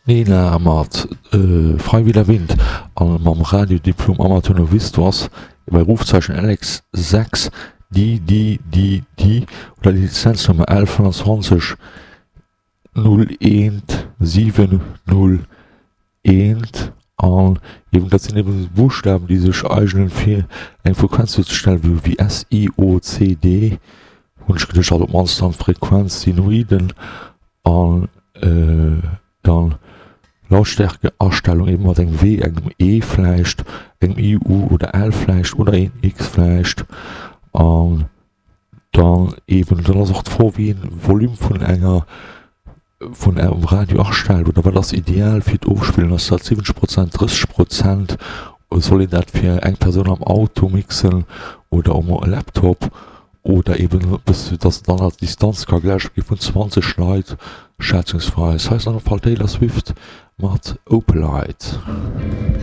D'Nina mat Frei wie der Wind a mam Radiodiplom Amateur Novice, do ass bei Rufzeichen LX 6 DDDD oder Lizenznummer L 25 01 701 an eben dat sinn eben Buschtawen déi sech eignen fir eng Frequenz duerzestellen, wéi wéi S I O C D hunn ech geduecht, also op d'mannst dann d'Frequenz Sinoiden an dann Lautstärkeastellung eben mat engem W, engem E vläicht, engem I, U oder L vläicht oder een X vläicht an dann eben, dann ass och d'Fro wéi een Volume vun enger vun engem Radio astellt oder wat ass ideal fir d'Ofspillen, ass dat 70 Prozent, 30 Prozent, soll een dat fir eng Persoun am Auto mixen oder um Laptop oder eben bis dass et dann als Distanz ka geläscht gi vun 20 Leit schätzungsweis. Hei ass an alle Fall Taylor Swift mat Opalite.